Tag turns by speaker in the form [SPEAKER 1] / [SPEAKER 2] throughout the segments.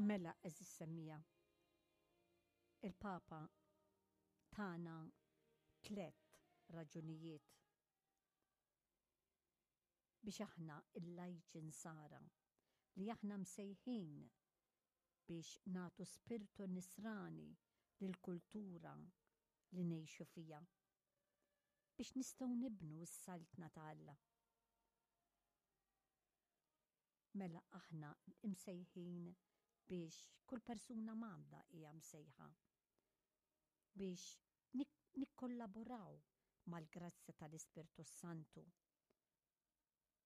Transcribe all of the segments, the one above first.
[SPEAKER 1] Mela għeżież semmiegħa, il-Papa tana tlett raġunijiet biex aħna il-lajċi nsara li aħna msejħin biex nagħtu spirtu nisrani lill-kultura li ngħixu fiha, biex nistgħu nibnu s-Saltna ta' Alla. Mela aħna imsejħin biex kull persuna mgħammda hija msejħa biex nikkollaboraw mal-grazzja tal-Ispirtu s-Santu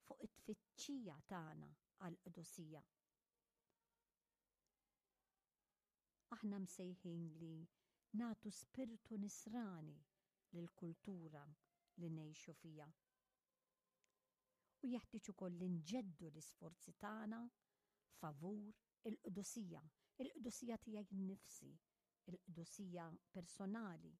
[SPEAKER 1] fuq it-tfittxija tagħna għall-qdusija. Aħna msejħin li nagħtu spirtu nisrani lill-kultura li ngħixu fiha. U jeħtieġ ukoll li nġeddu l-isforzi tagħna favur il-qdusija, il-qdusija tiegħi nnifsi, il-qdusija personali,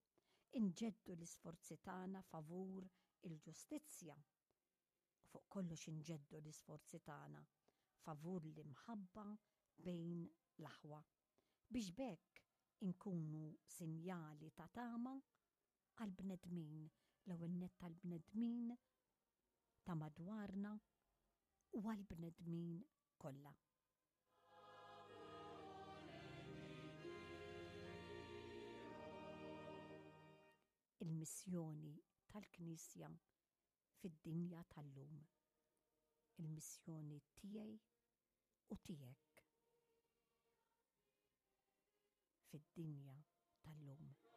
[SPEAKER 1] inġeddu l-isforzi tagħna favur il-ġustizzja, u fuq kollox inġeddu l-isforzi tagħna favur l-imħabba bejn l-aħwa, biex b'hekk inkunu sinjali ta' tama għall-bnedmin, l-ewwel nett għall-bnedmin ta' madwarna u għall-bnedmin kollha. Il-missjoni tal-Knisja fid-dinja tal-lum. Il-missjoni tiegħi u tiegħek fid-dinja tal-lum.